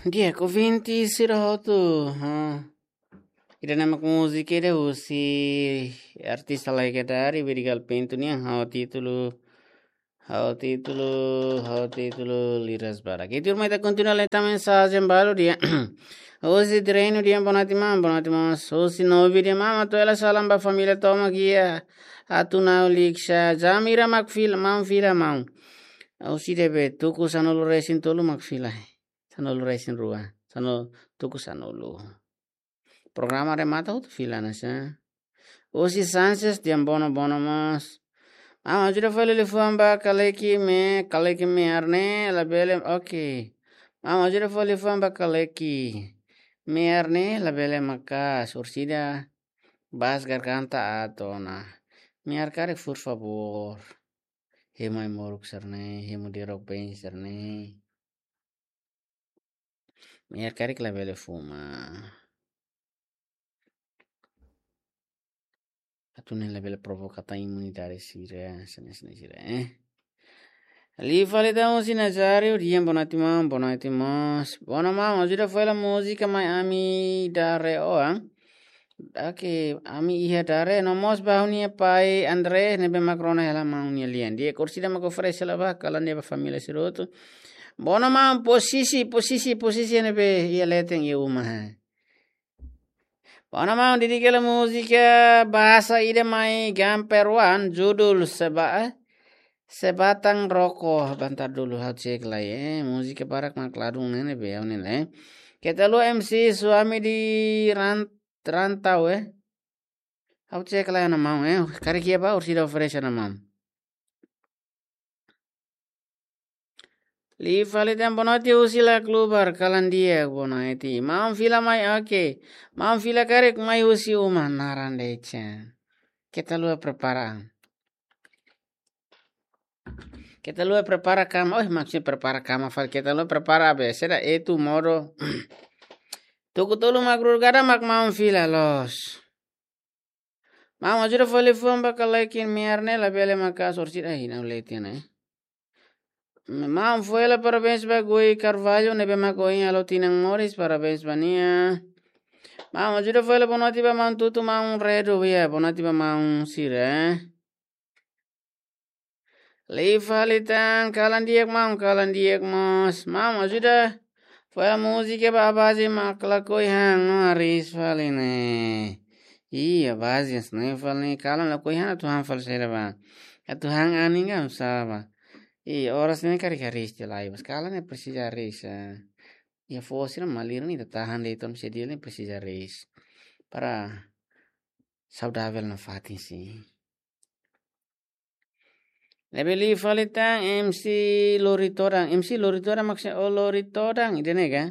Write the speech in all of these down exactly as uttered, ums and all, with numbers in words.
Di'ak, ouvinte sira hotu, ha. Ida-ne'e mak múzika ida husi artista Lae Kedari, Berigal Pinto nian, ha'u títulu, ha'u títulu, ha'u títulu Liras Barak. Ita ruma ita kontinua leta mensajen balu di'ak. Husi Treinu di'ak, boa noite maun, boa noite maun. Husi Novi di'ak, maun, atu hela salam ba família tomak iha Atunau Liksa. Jam hira mak fila, maun fila maun. Husi ne'ebé, tuku sanulu resin tolu mak fila. Sanulu resin rua. Sanu, tuku sanulu. Programa remata hotu fila ona sá. Husi Sanches di'ak, boa noite, boa noite mós. Maun, ajuda fali liafuan ba Kaleki, me, Kaleki me'ar ne'e labele, oke. Maun, ajuda fali liafuan ba Kaleki. Me'ar ne'e labele maka'as, orsida bas garganta aat ona. Me'ar karik, por favór. Hemu ai-moruk sira-ne'e, hemu derok ben sira-ne'e. Me'ar karik labele fuma. Atu nune'e labele provoka tan imunidade sira, sene-sene sira, eh. Liu fali tan husi Nazario di'ak, boa noite maun, boa noite mós. Boa noite maun, ajuda fali múzika Mai Ami Dare Oan. Oke, Ami Iha Dare, no mós ba ha'u-nia pai André, ne'ebé mak rona hela maun nia lian. Di'ak, orsida mak oferese hela ba, kalan di'ak ba família sira hotu. Boa noite maun, posisi, posisi, posisi ne'ebé iha leten iha uma, ha. Boa noite maun, dedika hela múzika bahasa ida mai Gamper One, judul Seba, eh, Sebatang Rokok, bantar dulu ha'u cek lai, eh. Múzika barak mak ladún ne'e, ne'ebé ha'u-nia lai, eh. Keta haluha M C Suami di Ran-, Rantau, eh. Ha'u cek lai ona maun, eh. Karik iha ba, orsida oferese ona maun. Liu fali tan, boa noite husi Lak Lubar, kalan di'ak, boa noite. Maun fila mai, oke. Maun fila karik mai husi uma, naran de'it. Keta haluha prepara. Keta haluha prepara kama, oh, maksudnya prepara kama fali, keta haluha prepara be, seda etu modo. Tuku tolu mak rurgada mak maun fila loos. Maun, ajuda fali liafuan ba Kaleki, me'ar ne'e labele maka'as, orsida, ai, ha'u lee tiha ona, eh. Maun, fó hela parabéns ba Gui Carvalho, ne'ebé mak ohin halo tinan moris, parabéns ba nia. Maun, ajuda fó hela boa noite ba maun Tutu, maun Redo, ya, boa noite ba maun sira, eh. Liu fali tan, kalan di'ak maun, kalan di'ak mós. Maun, ajuda fó hela múzika ba Abazi mak lakohi han, no hariis fali ne'e. Ih, Abazi, hanesan ne'e fali ne'e, kalan lakohi han, atu han fali saida ba. Atu han anin ka, sala ba. Ih, oras ne'e karik hariis tiha lai, mas kalan ne'e presiza hariis, eh. Iha foho sira malirin ne'e ita tahan de'it, entaun se dia ne'e presiza hariis. Para saudavel nafatin, sin. Ne'ebé liu fali tan M C Lori Todan. M C Lori Todan maksudnya, oh, Lori Todan, ida-ne'e ka?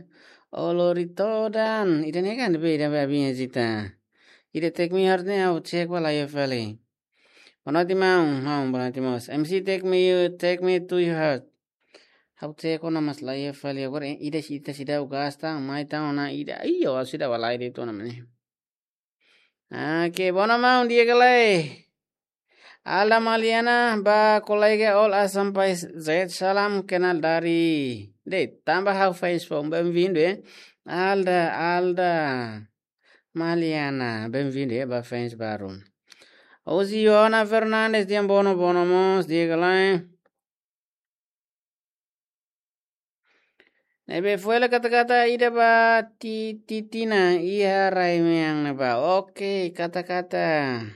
Oh, Lori Todan, ida-ne'e ka, ne'ebé, ida-ne'ebé abinha jita. Ida Take Me Heart ne'e ha'u cek ba la iha fali. Boa noite maun, maun, boa noite mós. M C Take Me, Take Me to Your Heart. Ha'u cek ona mas la iha fali agora, eh, ida, ida seidauk gasta, mai tan ona ida. Ih, ha'u seidauk bá lai de'it ona mane. Oke, boa noite maun, di'ak ka lae? Alda Maliana, ba kolega All Assam Pais Z, salam kenal dari. De'it, tanba ha'u fans foun, bem-vindo, eh. Alda, Alda Maliana, bem-vindo, eh, ba fans baru. Husi Joana Fernandes, di'ak, boa noite, boa noite mós, di'ak ka lae? Ne'ebé fó hela kata-kata ida ba Ti-, Titina, iha rai mean ne'ebá. Oke, kata-kata.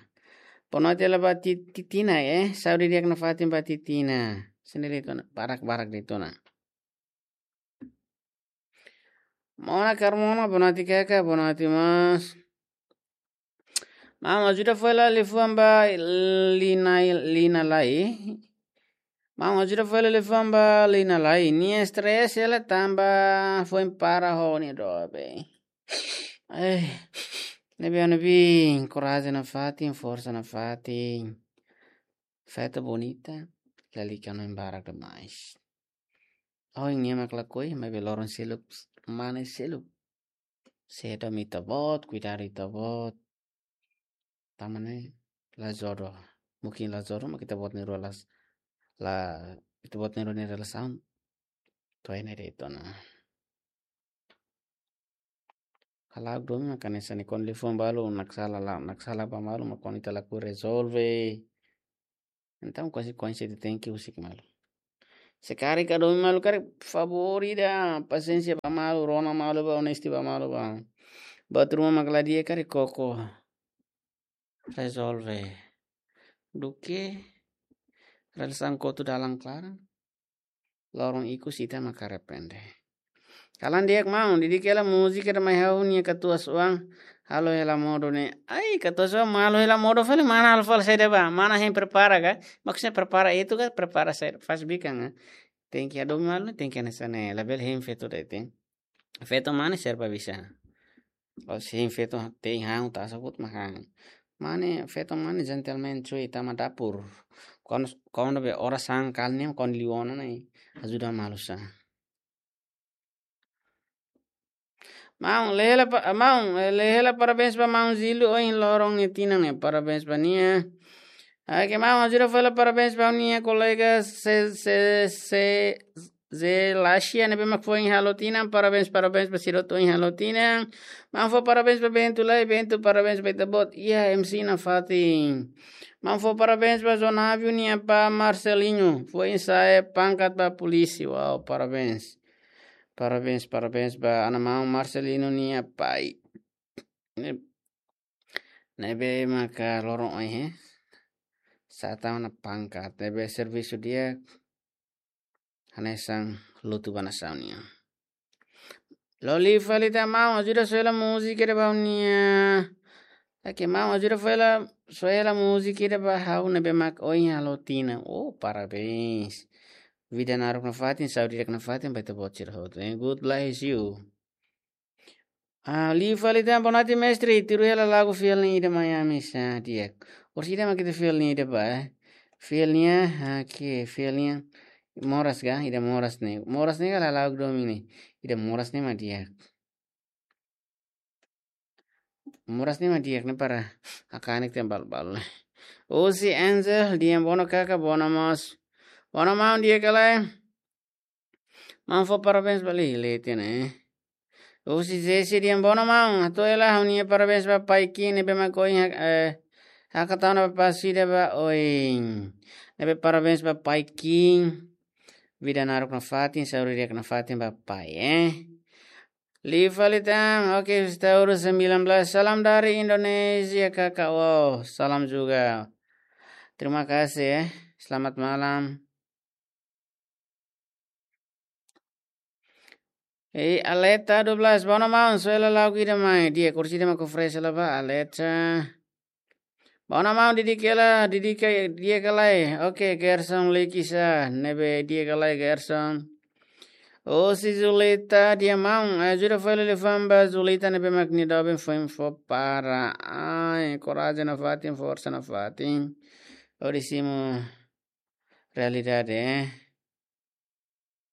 Boa noite hela ba Ti-, Titina, eh. Saúde di'ak nafatin ba Titina. Sendiri de'it ona, barak-barak de'it ona. Mona Carmona, boa noite kaka, boa noite mós. Maun, ajuda fó hela liafuan ba Lina, Lina Lai. Maun, ajuda fó hela liafuan ba Lina Lai. Nia stress hela tanba foin para ho nia doben. Eh, ne'ebé, ne'ebé, korajen nafatin, forsa nafatin. Feto bonita, lalika no barak demais. Ohin nia mak lakohi, maibé loron seluk, mane seluk. Seidauk ita-boot, kuidadu ita-boot. Tanba ne'e la jodoh. Mungkin la jodoh, mak ita-boot nia rua las-, la, ita-boot nia rua nia relasaun. To'o iha ne'e de'it ona. Halo domin maka hanesan ne'e, kuandu liafuan balu naksala la, naksala ba malu, mak kuandu ita lakohi rezolve. Entaun konsekuénsia ita tenke husik malu. Se karik ita domin malu karik, favór ida, pasiénsia ba malu, rona malu ba, onesti ba malu ba. Buat ruma mak la di'ak karik koko. Rezolve. Duké relasaun kotu dalan klaran, loron ikus ita mak arrepende. Kalan di'ak maun, didik hela múzika ida mai ha'u-nia katuas-oan, halo hela modo ne'e. Ai, katuas-oan, halo hela modo fali, mana halo fali saida ba? Mana hein prepara ka? Maksudnya prepara itu ka, prepara saida, faz bikan ka? Tenke hadomi malu, tenke hanesan ne'e, labele hein feto de'it. Feto mane serba bisa. Kalau hein feto te'in han, ita sabut mak han. Mane, feto mane gentleman cuy, tama dapur. Kuandu, kuandu be oras sangkal ne'e, kuandu liu ona ne'e, ajuda malu sa. Maun, lee hela pa-, maun, eh, lee hela parabéns ba maun Zilu ohin loron nia tinan ne'e, parabéns ba nia. Oke, maun, ajuda fali hela parabéns ba nia kolega se, se, se, Ze Lasia ne'ebé mak foin halo tinan, parabéns, parabéns ba sira hotu ohin halo tinan. Maun fó parabéns ba Bento lai, Bento parabéns ba ita-boot. Iha M C nafatin. Maun fó parabéns ba Zonavio nia apá Marcelinho, foin sa'e pangkat ba polísia. Wow, parabéns. Parabéns, parabéns ba ana maun Marcelinho nia pai. Ne-, ne'ebé maka loron ohin, eh. Sa'e tan ona pangkat, ne'ebé servisu di'ak hanesan lutu ba nasaun nian. Loli fali tan maun, ajuda soe hela múzika ida ba ha'u-nia. Oke, maun, ajuda fali hela, soe hela múzika ida ba ha'u ne'ebé mak ohin halo tinan. Oh, parabéns. Vida naruk nafatin, saúde di'ak nafatin ba ita-boot sira hotu. Eh, God bless you. Ah, loli fali tan, boa noite mestre, tuir hela lagu fiel nia ida mai ami sa di'ak. Orsida mak ita fiel nia ida ba, eh. Fiel nia, ah, ke fiel nia. Moras ka, ida moras ne'e. Moras ne'e ka la lagu domin ne'e. Ida moras ne'e mak di'ak. Moras ne'e mak di'ak ne'e para hakanek tan balu-balu ne'e. Osi Angel, di'ak, bono kaka, bono mós. Bono maun, di'ak ka lae? Maun fó parabéns ba li, leten, eh. Osi Jesse, di'ak, bono maun. Hato'o hela ha'u-nia parabéns ba pai Kim ne'ebé mak ohin, eh, hakatau ona ba pasi ida ba oin. Ne'ebé parabéns ba pai Kim. Vida naruk nafatin, saúde di'ak nafatin ba pai, eh. Loli fali tan, oke, Taurus sembilan belas. Salam dari Indonesia, kakak. Wow, salam juga. Terima kasih, eh. Selamat malam. Eh, Aleta dua belas, bono maun, soe hela lagu ida mai. Di'ak, orsida mak oferese hela ba, Aleta. Bono maun, didik hela, didik ka, di'ak ka lae? Oke, Gerson Likisa, ne'ebé di'ak ka lae Gerson? Osi Zulita, di'ak maun, eh, ajuda fali hela liafuan ba Zulita ne'ebé mak nia doben foin fó para. Ai, korajen nafatin, forsa nafatin. Hodi simu realidade, eh.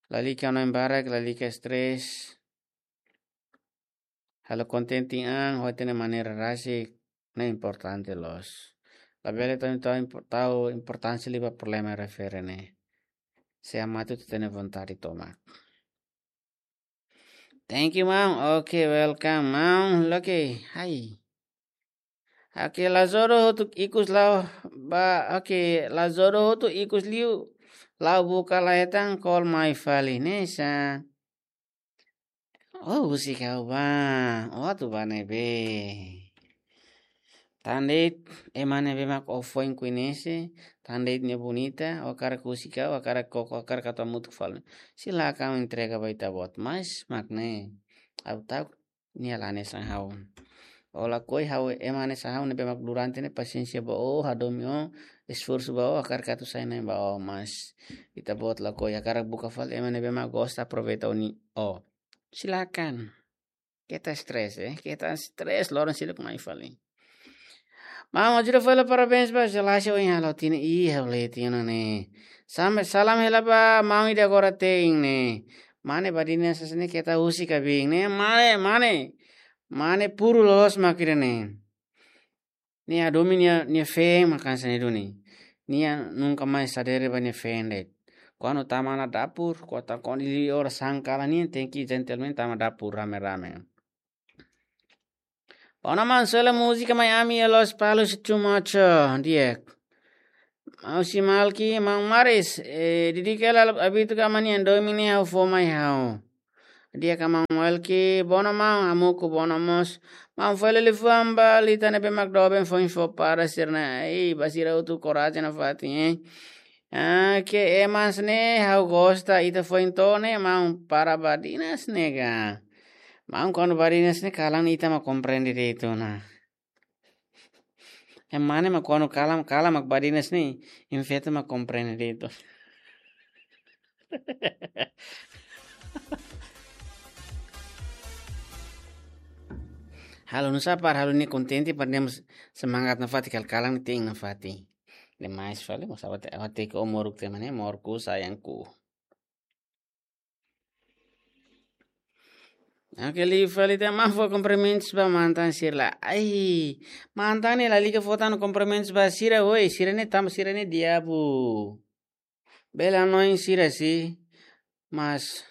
Lalika hanoin barak, lalika stress. Halo kontente an, ho ita-nia maneira rasik, ne'e importante loos. Labele tau, tau impo-, tau importánsia liu ba problema refere ne'e. Se amatu ita-nia vontade tomak. Thank you, maun. Oke, welcome, maun. Oke, hai. Oke, la jodoh hotu ikus la'o ba, oke, la jodoh hotu ikus liu la'o buka la hetan, call mai fali, ne'e sa. Oh, husik ha'u ba. Oh, atu ba ne'ebé. Tan de'it ema ne'ebé mak ó foin koñese, tan de'it nia bonita, ó hakarak husik ha'u, ó hakarak koko, ó hakarak atu hamutuk fali. Silakan entrega ba ita-boot, mas mak ne'e. Ha'u ta'uk nia la hanesan ha'u. Ó lakohi ha'u ema hanesan ha'u ne'ebé mak durante ne'e pasiénsia ba ó, hadomi ó, esforsu ba ó, hakarak atu sai na'in ba ó, mas ita-boot lakohi, hakarak buka fali ema ne'ebé mak gosta, aproveita ó-nia, ó. Silakan. Keta stress, eh. Keta stress, loron seluk mai fali. Maun, ajuda fali hela parabéns ba Zelasi ohin halo tinan, ih, halo tinan ne'e. Sam-, salam hela ba maun ida agora te'in ne'e. Mane badin ne'e sasane keta husik ka bin ne'e. Mane, mane. Mane puru loos mak ida ne'e. Nia hadomi nia, nia feen mak hanesan ne'e duni. Nia nunka mais sadere ba nia feen de'it. Kuandu tama ona dapur, kuandu ta-, kuandu liu oras sangkala nia tenke gentleman tama dapur rame-rame. Bona maun, sela múzika mai ami, Los Palos Chumacho, di'ak. Maun Simalki, maun Maris, eh, didik hela abitu ka mani ando mini ha'u fó mai ha'u. Di'ak ka maun Malki, bona maun, hamuku bona mós. Maun fó hela liafuan ba ita ne'ebé mak doben foin fó para sira-ne'e. Ei, ba sira hotu korajen nafatin, eh. Ah, ke ema sira-ne'e ha'u gosta ita foin to'o ne'e maun para badinas ne'e ka. Maun kuandu badinas ne'e kalan ita mak komprende direitu ona. Ema ne'e mak kuandu kalan, kalan mak badinas ne'e, infeta mak komprende direitu. Halo nu'usá para halo nia kontente para nia mós semangat nafatin kal-, kalan nia te'in nafatin. Demais fali, mós awak te, awak te ke o moruk te mane, morku sayangku. Oke, liu fali ita maun fó kumprimentus ba mantan sira lai. Ai, mantan ne'e lalika fó tan kumprimentus ba sira, oi, sira-ne'e tanba sira-ne'e diabu. Bele hanoin sira si, mas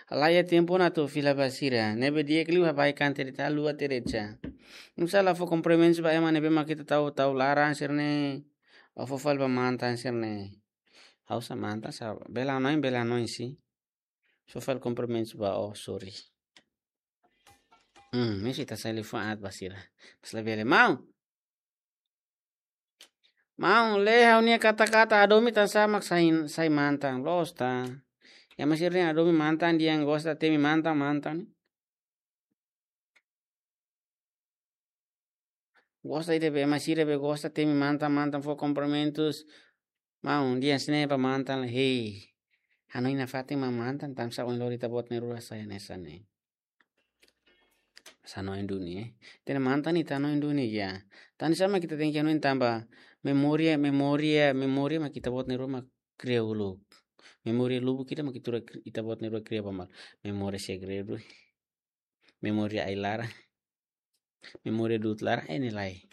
laiha tempu ona atu fila ba sira. Ne'ebé di'ak liu baibain de'it, haluha de'it. Nu'usá la fó kumprimentus ba ema ne'ebé mak ita tau, tau laran sira-ne'e. Ó fó fali ba mantan sira-ne'e. Ha'u sa mantan sa, bele hanoin, bele hanoin si. Fó fali kumprimentus ba ó, sorry. Hmm, misi ta sali fó at ba sira. Pas la bele maun. Maun, lee ha'u-nia kata-kata hadomi tansá mak sai, sai mantan, loos ta. Ema sira-ne'e hadomi mantan, dehan gosta temi mantan, mantan. Gosta ida be, ema sira be gosta temi mantan, mantan fó kumprimentus. Maun, dehan sne ba mantan, hei. Hanoin nafatin mak mantan, tansá ohin loron ita-boot nia rua sai hanesan ne'e. Sa hanoin duni, eh. Tene mantan ita hanoin duni ya. Tansá mak ita tenke hanoin tanba memória, memória, memória mak ita-boot nia rua mak kria uluk. Memória lubuk ita mak ita rua kri-, ita-boot nia rua kria ba malu. Memória segredu. Memória ai-laran. Memória du'ut laran, eh, ne'e lae.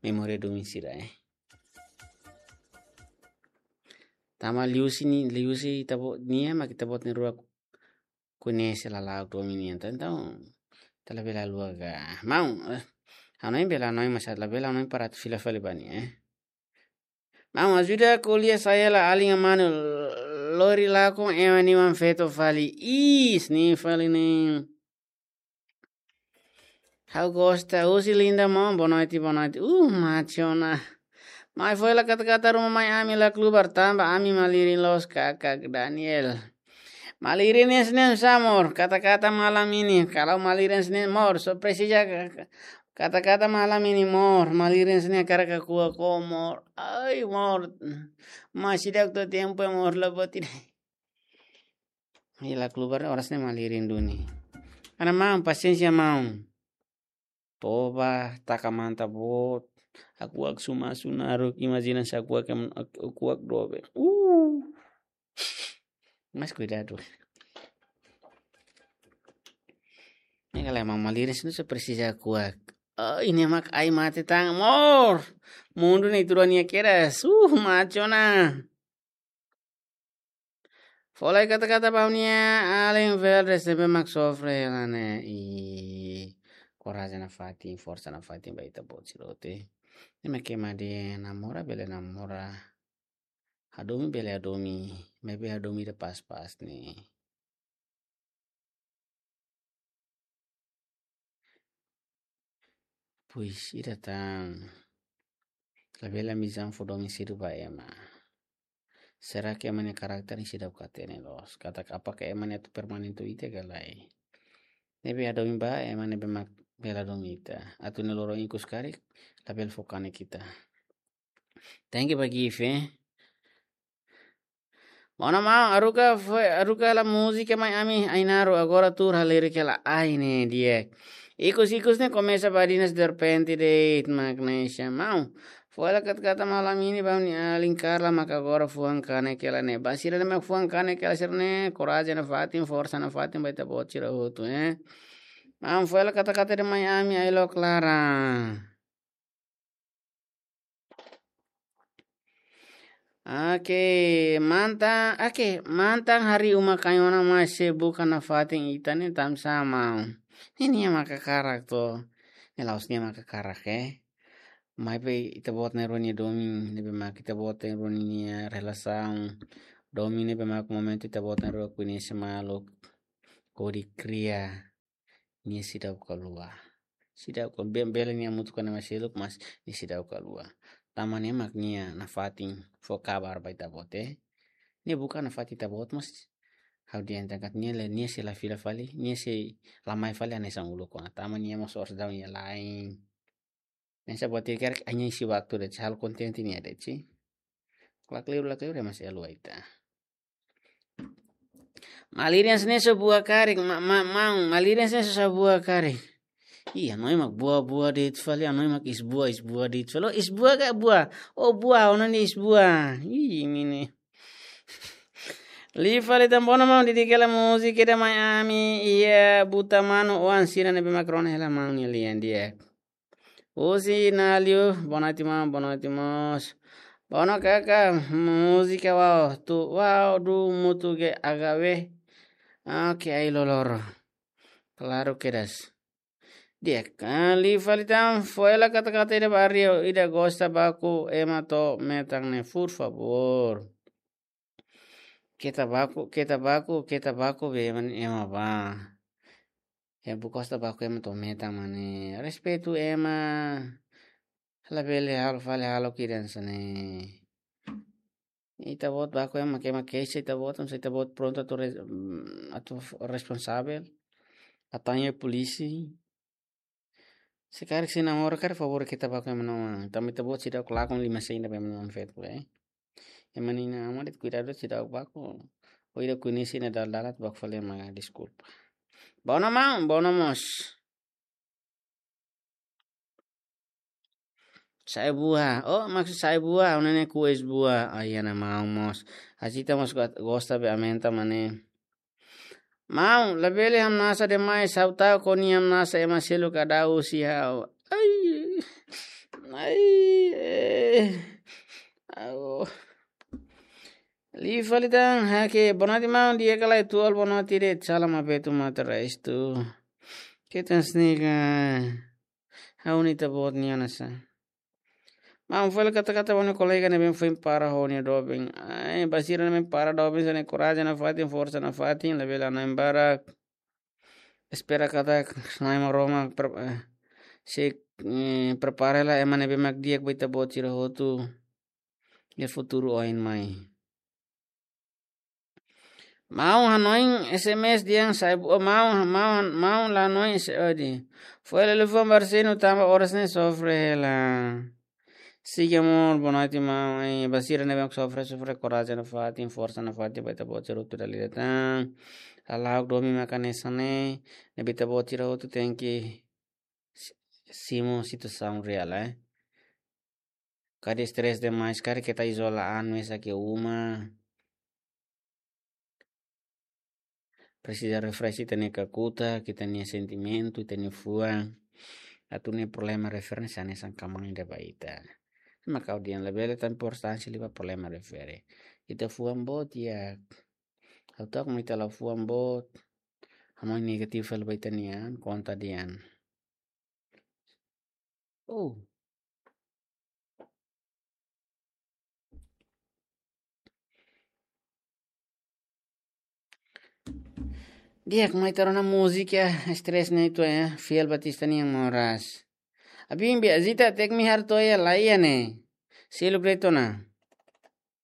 Memória domin sira, eh. Tanba liuhusi ne'e, liuhusi ita-boot nia, mak ita-boot nia rua koñese lala'ok domin nian. Entaun, ita labele haluha ka. Maun, eh, hanoin bele hanoin, mas labele hanoin para atu fila fali ba nia, eh. Maun, ajuda ko'alia sai hela alin manu, lori lakon ema nia oan feto fali. Is, ne'e fali ne'e. Ha'u gosta, husi Linda maun, boa noite, boa noite. Uh, macho ona. Mai fó hela kata-kata ruma mai ami la klubar tanba ami malirin loos, kakak Daniel. Malirin ne'e sne sa amor, kata-kata malam ini. Kalau malirin sne amor, só presiza ka-, ka-, kata-kata malam ini amor. Malirin sne hakarak hakuak ho amor. Ai amor. Masih ida-idak tempu amor, la buat ida. Hela klubar oras ne'e malirin duni. Ana maun, pasiénsia maun. Toba, taka manta boot. Hakuak suma sunaruk, imajina se hakuak em-, hakuak doben. Uh. Mas kuidadu. Ne'e kala ema malirin sne só presiza hakuak. Oh, ne'e mak ai mate tan amor. Mundu ne'e ita rua nia kedas. Uh, macho ona. Fó lai kata-kata ba ha'u-nia alin Veldes ne'ebé mak sofre hela ne'e. I korajen nafatin, forsa nafatin ba ita-boot sira hotu. Ne'e mak ema dehan namora bele namora. Hadomi bele hadomi, maibé hadomi ida pas-pas ne'e. Pois ida tan. Labele amizade fó domin sira ba ema. Será que ema nia karakter ne'e seidauk hatene loos? Katak apakah ema ne'e atu permanente ho ita ka lae? Ne'ebé hadomi ba ema ne'ebé mak bele hadomi ita. Atu nia loron ikus karik, labele fó kanek ita. Thank you ba Gift, eh. Bona maun, haruka fó, haruka hela múzika mai ami Ainaro, agora tuur halerik hela ai ne'e di'ak. Ikus-ikus ne'e komesa badinas derrepente de'it, Magnesia maun. Fó hela kata-kata malam ini ba ha'u-nia alin Carla mak agora fuan kanek hela ne'e. Ba sira ne'ebé mak fuan kanek hela sira-ne'e, korajen nafatin, forsa nafatin ba ita-boot sira hotu, eh. Maun, fó hela kata-kata ida mai ami, ai-look laran. Oke, mantan, oke, mantan harii uma kain ona mai sei buka nafatin ita ne'e tansá maun. Ne'e nia mak hakarak to. Ne'e la'ós nia mak hakarak, eh. Maibé ita-boot na'in-rua nia domin, ne'ebé mak ita-boot na'in-rua nia relasaun. Domin ne'ebé mak momentu ita-boot na'in-rua koñese maluk hodi kria, nia seidauk haluha. Seidauk haluha, be-, bele nia hamutuk ho ema seluk, mas nia seidauk haluha. Tanba ne'e mak nia nafatin fó kabar ba ita-boot, eh. Nia buka nafatin ita-boot, mas ha'u dehan katak nia la, nia sei la fila fali, nia sei la mai fali hanesan uluk ona. Tanba nia mós oras daudaun nia la'en. Ne'e sá buat ida karik nia isi waktu de'it, halo kontente nia de'it. Lakleur, lakleur, ema sei haluha ita. Malirin sá ne'e só buah karik, ma-, ma-, maun, malirin sá ne'e só buah karik. Ih, hanoin mak buah, buah de'it fali, hanoin mak iis-buah, iis-buah de'it fali. Oh, iis-buah ka buah? Oh, buah, ona ne'e iis-buah. Ih, imi ne'e. Liu fali tan, boa ona maun, dedika hela múzika ida mai ami iha Buta Manu, oan sira ne'ebé mak rona hela maun nia lian di'ak. Husi Nalio, boa noite maun, boa noite mós. Boa noite kaka, múzika Wau, tu Wau du mutu ge agawe. Oke, ai loloro. Klaru kedas. Di'ak, ah, liu fali tan, fó hela kata-kata ida ba Ariel, ida gosta baku ema to'o metan ne'e, por favór. Keta baku, keta baku, keta baku be ema, ema bá. Ya, buka gosta baku ema to'o metan mane. Respeitu ema. Labele halo fali hahalok ida hanesan ne'e. Ita-boot baku ema ke ema keixa ita-boot, se ita-boot prontu atu re-, mm, atu f-, responsavel. Atu haña polísia. Se karik sei namora karik favór keta baku ema na'in-rua. Tanba ita-boot seidauk lakon lima sen ida ba ema na'in-rua feto, eh. Ema na'in-rua aman de'it, kuidadu seidauk baku. Ou ida koñese nia dala-dala atu baku fali ema, deskulpa. Boa ona maun, boa ona mós. Sai-buah. Oh, maksud sai-buah, ona ne'e kues buah. Ai, ana maun mós. Asita mós got-, gosta be aumenta mane. Maun, labele hamnasa demais, ha'u ta'uk ho nia hamnasa ema seluk ka dau husi ha'u. Ai. Ai, eh. Au. Liu fali tan, hake, boa noite maun, di'ak ka lae, tual boa noite de'it, salam abertu mata raistu. Ketan sniga. Ha'u-nia ita-boot nia hanesan. Maun, fó hela kata-kata ba nia kolega ne'ebé foin para ho nia doben. Ai, ba sira ne'ebé para doben, sira-ne'e korajen nafatin, forsa nafatin, labele hanoin barak. Espera katak Na'i Maromak pre-, eh, sei, eh, prepara hela ema ne'ebé mak di'ak ba ita-boot sira hotu. Iha futuru oin mai. Maun hanoin S M S dehan sai-buah, oh, maun, maun, maun la hanoin S M S dehan. Fó hela liafuan ba arsenu tanba oras ne'e sofre hela. Siga amor, boa noite maun. Eh, ba sira ne'ebé mak sofre, sofre, korajen nafatin, forsa nafatin, ba ita-boot sira hotu dala ida tan. Hala'o domin maka hanesan ne'e, ne'ebé ita-boot sira hotu tenke si-, simu situasaun reál, eh. Karik estrés demais, karik keta izola an mesak iha uma. Presiza refresh ita-nia kakutak, ita-nia sentimentu, ita-nia fuan. Atu nune'e problema refere hanesan kmaan ida ba ita. Mak ha'u dehan labele tan importánsia liu ba problema refere. Ita fuan boot di'ak. Ha'u ta'uk katak ita la fuan boot. Ha'u mai negativu fali ba ita-nia an, konta dehan. Oh. Di'ak, mai ita rona múzika, estrés ne'e atu, eh, Fiel Batista nian moras. Abin be azita tek mi harto ya la iha ne'e. Seluk de'it ona.